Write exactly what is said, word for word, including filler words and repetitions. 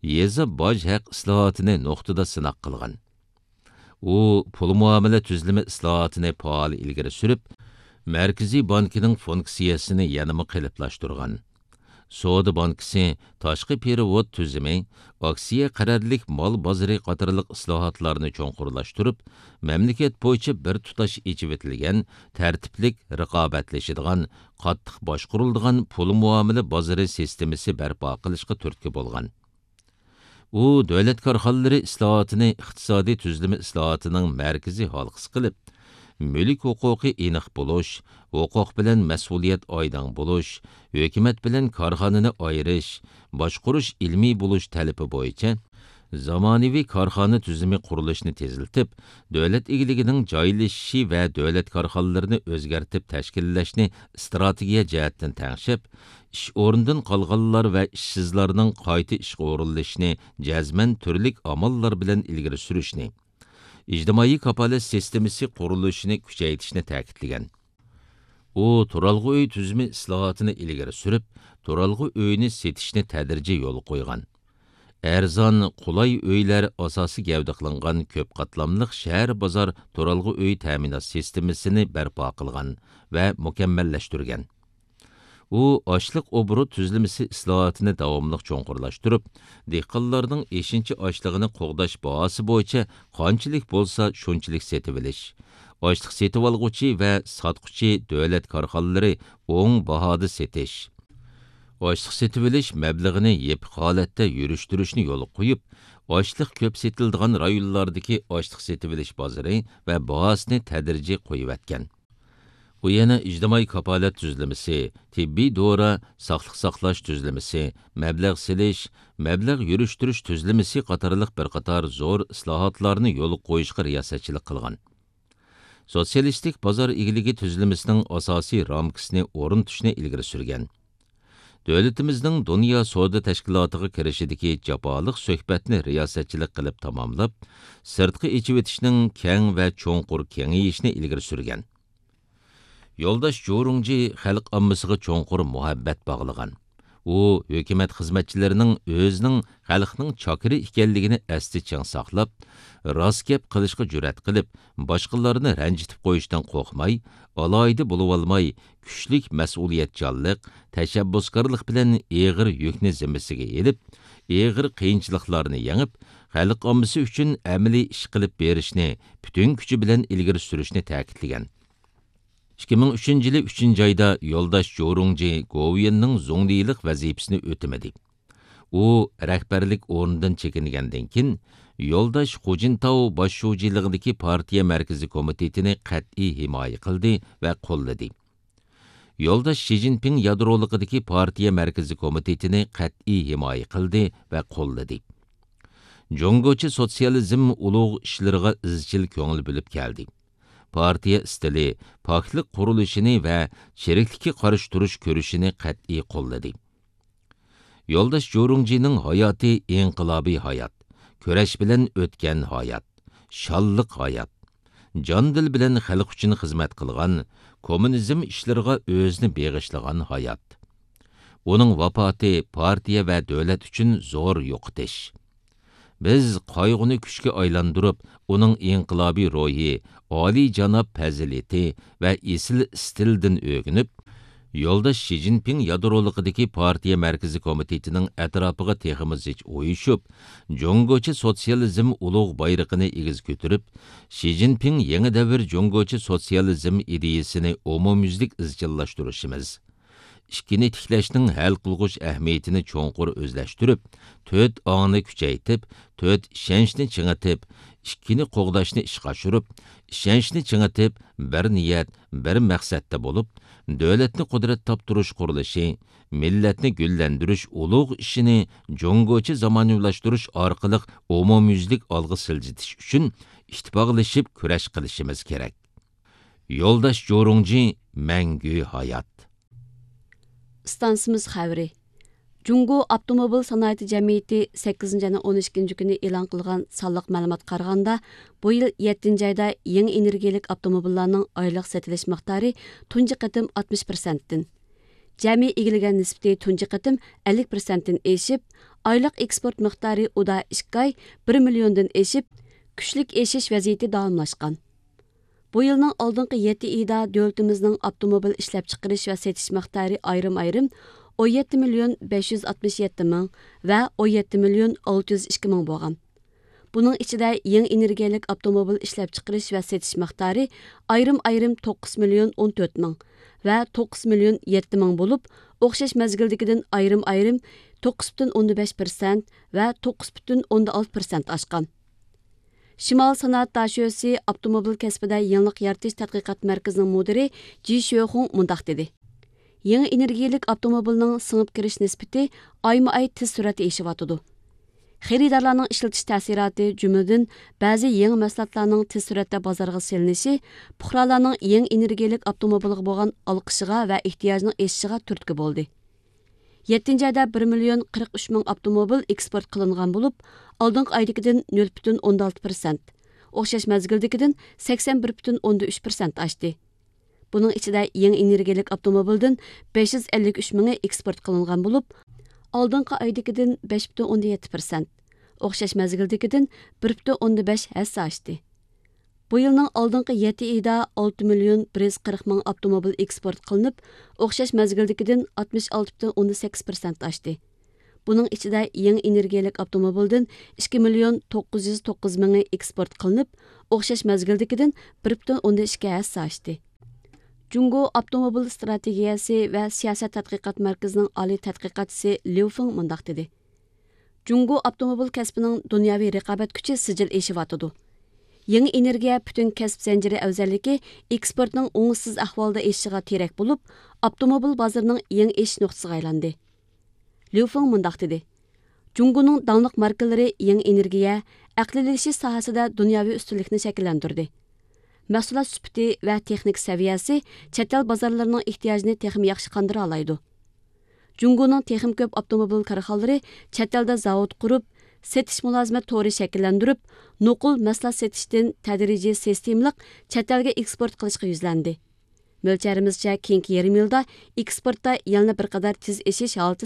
يېزا باج ھەق ئىسلاھاتىنى نۇقتىدا سىناق قىلغان. ئۇ پۇل مۇئامىلە تۈزۈلمە ئىسلاھاتىنى پائال ئىلگىرى سۈرۈپ، مەركىزىي بانكىنىڭ فۇنكسىيەسىنى يەنىمۇ قېلىپلاشتۇرغان. سودا بانكىسى، تاشقى پېرېۋوت تۈزۈمى، ئاكسىيە قەرەللىك مال بازىرى قاتارلىق ئىسلاھاتلارنى چوڭقۇرلاشتۇرۇپ، مەملىكەت بويىچە بىر تۇتاش ئېچىۋېتىلگەن، تەرتىپلىك رىقابەتلىشىدىغان، قاتتىق باشقۇرۇلىدىغان پۇل مۇئامىلە بازىرى سىستېمىسى بەرپا قىلىشقا تۈرتكە بولغان. ئۇ دۆلەت كارخانىلىرى ئىسلاھاتىنى ئىقتىسادىي تۈزۈلمە ئىسلاھاتىنىڭ مەركىزىي ھالقىسى قىلىپ، مۈلۈك ھوقۇقى ئېنىق بولۇش، ھوقۇق بىلەن مەسئۇلىيەت ئايدىڭ بولۇش، ھۆكۈمەت بىلەن كارخانىنى ئايرىش، باشقۇرۇش ئىلمىي بولۇش تەلىپى بويىچە زامانىۋى كارخانا تۈزۈمى قۇرۇلۇشىنى تېزلىتىپ، دۆلەت ئىگىلىكىنىڭ جايلىشىشى ۋە دۆلەت كارخانىلىرىنى ئۆزگەرتىپ تەشكىللەشنى ئىستراتېگىيە جەھەتتىن تەڭشەپ، ئىش ئورنىدىن قالغانلار ۋە ئىشسىزلارنىڭ قايتا ئىشقا ئورۇنلىشىشىنى جەزمەن تۈرلۈك ئاماللار بىلەن ئىلگىرى سۈرۈشنى، ئىجتىمائىي كاپالەت سىستېمىسى قۇرۇلۇشىنى كۈچەيتىشنى تەكىتلىگەن. ئۇ تۇرالغۇ ئۆي تۈزۈمى ئىسلاھاتىنى ئىلگىرى سۈرۈپ، تۇرالغۇ ئۆينى سېتىشنى تەدرىجىي يولغا قويغان. ئەرزان، قولاي ئۆيلەر ئاساسىي گەۋدە قىلىنغان كۆپ قاتلاملىق شەھەر بازار تۇرالغۇ ئۆي تەمىنات سىستېمىسىنى بەرپا قىلغان ۋە مۇكەممەللەشتۈرگەن. ئۇ ئاشلىق ئوبوروت تۈزۈلمىسى ئىسلاھاتىنى داۋاملىق چوڭقۇرلاشتۇرۇپ، دېھقانلارنىڭ ئېشىنچا ئاشلىقىنى قوغداش باھاسى بويىچە قانچىلىك بولسا شۇنچىلىك سېتىۋېلىش، ئاشلىق سېتىۋالغۇچى ۋە ساتقۇچى دۆلەت كارخانىلىرى ئوڭ باھادا سېتىش، ئاشلىق سېتىۋېلىش مەبلىغىنى يېپىق ھالەتتە يۈرۈشتۈرۈشنى يولغا قويۇپ، ئاشلىق كۆپ سېتىلىدىغان رايونلاردىكى ئاشلىق سېتىۋېلىش بازىرى ۋە باھاسىنى تەدرىجىي قويۇۋەتكەن. ئۇ يەنە ئىجتىمائىي كاپالەت تۈزۈلمىسى، تېببىي دورا، ساقلىق ساقلاش تۈزۈلمىسى، مەبلەغ سېلىش، مەبلەغ يۈرۈشتۈرۈش تۈزۈلمىسى قاتارلىق بىر قاتار زور ئىسلاھاتلارنى يولغا قويۇشقا رىياسەتچىلىك قىلغان. سوتسىيالىستىك بازار ئىگىلىكى تۈزۈلمىسىنىڭ ئاساسىي رامكىسىنى ئورنىتىشنى ئىلگىرى سۈرگەن. دۆلىتىمىزنىڭ دۇنيا سودا تەشكىلاتىغا كىرىشىدىكى جاپالىق سۆھبەتنى رىياسەتچىلىك قىلىپ تاماملاپ، سىرتقا ئېچىۋېتىشنىڭ كەڭ ۋە چوڭقۇر كېڭىيىشنى ئىلگىرى سۈرگەن. يولداش جورۇڭجى خەلق ئاممىسىغا چوڭقۇر مۇھەببەت باغلىغان. ئۇ ھۆكۈمەت خىزمەتچىلىرىنىڭ ئۆزىنىڭ خەلقنىڭ چاكىرى ئىكەنلىكىنى ئەستە چىڭ ساقلاپ، راست گەپ قىلىشقا جۈرئەت قىلىپ، باشقىلارنى رەنجىتىپ قويۇشتىن قورقماي، ئالاھىدە بولۇۋالماي، كۈچلۈك مەسئۇلىيەتچانلىق، تەشەببۇسكارلىق بىلەن ئېغىر يۈكنى زىممىسىگە ئېلىپ، ئېغىر قىيىنچىلىقلارنى يېڭىپ، خەلق ئاممىسى ئۈچۈن ئەمەلىي ئىش قىلىپ بېرىشنى پۈتۈن كۈچى بىلەن ئىلگىرى سۈرۈشنى تەكىتلىگەن. ئىككى مىڭ ئۈچىنچى يىلى ئۈچىنچى ئايدا يولداش جورۇڭجى گوۋۇيۈەننىڭ زۇڭلىلىق ۋەزىپىسىنى ئۆتىمىدى. ئۇ رەھبەرلىك ئورنىدىن چېكىنگەندىن كېيىن، يولداش خۇجىنتاۋ باش شۇجىلىقىدىكى پارتىيە مەركىزىي كومىتېتىنى قەتئىي ھىمايە قىلدى ۋە قوللىدى. يولداش شى جىنپىڭ يادرولۇقىدىكى پارتىيە مەركىزىي كومىتېتىنى قەتئىي ھىمايە قىلدى ۋە قوللىدى. جۇڭگوچە سوتسىيالىزم ئۇلۇغ ئىشلىرىغا ئىزچىل كۆڭۈل بۆلۈپ كەلدى. پارتىيە ئىستىلى، پاكلىق قۇرۇلۇشىنى ۋە چىرىكلىككە قارشى تۇرۇش كۈرىشىنى قەتئىي قوللىدى. يولداش جورۇڭجىنىڭ ھاياتى ئىنقىلابىي ھايات، كۈرەش بىلەن ئۆتكەن ھايات، شانلىق ھايات، جان-دىل بىلەن خەلق ئۈچۈن خىزمەت قىلغان، كوممۇنىزم ئىشلىرىغا ئۆزىنى بېغىشلىغان ھايات. ئۇنىڭ ۋاپاتى پارتىيە ۋە دۆلەت ئۈچۈن زور يوقىتىش. بىز قايغۇنى كۈچكە ئايلاندۇرۇپ، ئۇنىڭ ئىنقىلابىي روھى، ئالىيجاناب پەزىلىتى ۋە ئېسىل ئىستىلىدىن ئۆگىنىپ، يولداش شى جىنپىڭ يادرولۇقىدىكى پارتىيە مەركىزىي كومىتېتىنىڭ ئەتراپىغا تېخىمۇ زىچ ئۇيۇشۇپ، جۇڭگوچە سوتسىيالىزم ئۇلۇغ بايرىقىنى ئېگىز كۆتۈرۈپ، شى جىنپىڭ يېڭى دەۋر جۇڭگوچە سوتسىيالىزم ئىدىيىسىنى ئومۇميۈزلۈك ئىزچىللاشتۇرۇشىمىز، ئىككىنى تىكلەشنىڭ ھەل قىلغۇچ ئەھمىيىتىنى چوڭقۇر ئۆزلەشتۈرۈپ، تۆت ئاڭنى كۈچەيتىپ، تۆت ئىشەنچنى چىڭىتىپ، ئىككىنى قوغداشنى ئىشقا ئاشۇرۇپ، ئىشەنچنى چىڭىتىپ، بىر نىيەت، بىر مەقسەتتە بولۇپ، دۆلەتنى قۇدرەت تاپتۇرۇش قۇرۇلۇشى، مىللەتنى گۈللەندۈرۈش ئۇلۇغ ئىشىنى جۇڭگوچە زامانىۋىلاشتۇرۇش ئارقىلىق ئومۇميۈزلۈك ئالغا سىلجىتىش ئۈچۈن ئىتتىپاقلىشىپ كۈرەش قىلىشىمىز كېرەك. يولداش جورۇڭجى مەڭگۈ ھايات! ئىستانسىمىز خەۋىرى. جۇڭگو ئاپتوموبىل سانائىتى جەمئىيىتى سەككىزىنچى ئاينىڭ ئون ئىككىنچى كۈنى ئېلان قىلغان سانلىق مەلۇماتقا قارىغاندا، بۇ يىل يەتتىنچى ئايدا يېڭى ئېنېرگىيەلىك ئاپتوموبىللارنىڭ ئايلىق سېتىلىش مىقدارى تۇنجى قېتىم ئاتمىش پىرسەنتتىن، جەمئىي ئىگىلىگەن نىسبىتى تۇنجى قېتىم ئەللىك پىرسەنتتىن ئېشىپ، ئايلىق ئېكسپورت مىقدارى ئۇدا ئىككى ئاي بىر مىليوندىن ئېشىپ، كۈچلۈك ئېشىش ۋەزىيىتى داۋاملاشقان. بۇ يىلنىڭ ئالدىنقى يەتتە ئېيىدا دۆلىتىمىزنىڭ ئاپتوموبىل ئىشلەپچىقىرىش ۋە سېتىش مىقدارى ئايرىم-ئايرىم ئون يەتتە مىليون بەش يۈز ئاتمىش يەتتە مىڭ ۋە ئون يەتتە مىليون ئالتە يۈز ئىككى مىڭ بولغان. بۇنىڭ ئىچىدە يېڭى ئېنېرگىيەلىك ئاپتوموبىل ئىشلەپچىقىرىش ۋە سېتىش مىقدارى ئايرىم-ئايرىم توققۇز مىليون ئون تۆت مىڭ ۋە توققۇز مىليون يەتتە مىڭ بولۇپ، ئوخشاش مەزگىلدىكىدىن ئايرىم-ئايرىم توققۇز پۈتۈن ئوندىن بەش پىرسەنت ۋە توققۇز پۈتۈن ئوندىن ئالتە پىرسەنت ئاشقان. شىمال سانائەت داشۆسى ئاپتوموبىل كەسپىدە يېڭىلىق يارىتىش تەتقىقات مەركىزىنىڭ مۇدىرى جى شۆخۇڭ مۇنداق دېدى: يېڭى ئېنېرگىيەلىك ئاپتوموبىلنىڭ سىڭىپ كىرىش نىسبىتى ئايمۇ ئاي تېز سۈرئەتتە ئېشىۋاتىدۇ. خېرىدارلارنىڭ ئىشلىتىش تەسىراتى، جۈملىدىن بەزى يېڭى مەھسۇلاتلارنىڭ تېز سۈرئەتتە بازارغا سېلىنىشى پۇقرالارنىڭ يېڭى ئېنېرگىيەلىك ئاپتوموبىلغا بولغان ئالقىشىغا ۋە ئېھتىياجىنىڭ ئېشىشىغا تۈرتكە بولدى. يەتتىنچى ئايدا بىر مىليون قىرىق ئۈچ مىڭ ئاپتوموبىل ئېكسپورت قىلىنغان بولۇپ، ئالدىنقى ئايدىكىدىن نۆل پۈتۈن ئوندىن ئالتە پىرسەنت، ئوخشاش مەزگىلدىكىدىن سەكسەن بىر پۈتۈن ئوندىن ئۈچ پىرسەنت ئاشتى. بۇنىڭ ئىچىدە يېڭى ئېنېرگىيەلىك ئاپتوموبىلدىن بەش يۈز ئەللىك ئۈچ مىڭى ئېكسپورت قىلىنغان بولۇپ، ئالدىنقى ئايدىكىدىن بەش پۈتۈن ئوندىن يەتتە پىرسەنت، ئوخشاش مەزگىلدىكىدىن بىر پۈتۈن ئوندىن بەش ھەسسە ئاشتى. بۇ يىلنىڭ ئالدىنقى يەتتە ئېيىدا ئالتە مىليون بىر يۈز قىرىق مىڭ ئاپتوموبىل ئېكسپورت قىلىنىپ، ئوخشاش مەزگىلدىكىدىن ئاتمىش ئالتە پۈتۈن ئوندىن سەككىز پىرسەنت ئاشتى. بۇنىڭ ئىچىدە يېڭى ئېنېرگىيەلىك ئاپتوموبىلدىن ئىككى مىليون توققۇز يۈز توققۇز مىڭى ئېكسپورت قىلىنىپ، ئوخشاش مەزگىلدىكىدىن بىر پۈتۈن ئوندىن ئىككى ھەسسە ئاشتى. جۇڭگو ئاپتوموبىل ئىستراتېگىيەسى ۋە سىياسەت تەتقىقات مەركىزىنىڭ ئالىي تەتقىقاتچىسى ليۇ فېڭ مۇنداق دېدى: جۇڭگو ئاپتوموبىل كەسپىنىڭ دۇنياۋى رىقابەت كۈچى سىجىل ئېشىۋاتىدۇ. يېڭى ئېنېرگىيە پۈتۈن كەسىپ زەنجىرى ئەۋزەللىكى ئېكسپورتنىڭ ئوڭۇشسىز ئەھۋالدا ئېشىشىغا تىرەك بولۇپ، ئاپتوموبىل بازىرىنىڭ يېڭى ئېشىش نۇقتىسىغا ئايلاندى. ليۇ فېڭ مۇنداق دېدى: جۇڭگونىڭ داڭلىق ماركىلىرى يېڭى ئېنېرگىيە، ئەقلىيلىشىش ساھەسىدە دۇنياۋى ئۈستۈنلۈكنى شەكىللەندۈردى. مەھسۇلات سۈپىتى ۋە تېخنىكا سەۋىيەسى چەت ئەل بازارلىرىنىڭ ئېھتىياجىنى تېخىمۇ ياخشى قاندۇرالايدۇ. جۇڭگونىڭ تېخىمۇ كۆپ ئاپتوموبىل كارخانىلىرى چەت ئەلدە زاۋۇت قۇرۇپ، سېتىش مۇلازىمەت تورى شەكىللەندۈرۈپ، نوقۇل مەھسۇلات سېتىشتىن تەدرىجىي سىستېمىلىق چەت ئەلگە ئېكسپورت قىلىشقا يۈزلەندى. مۆلچەرىمىزچە، كېيىنكى يېرىم يىلدا ئېكسپورتتا يەنە بىر قەدەر تېز ئېشىش ھالىتى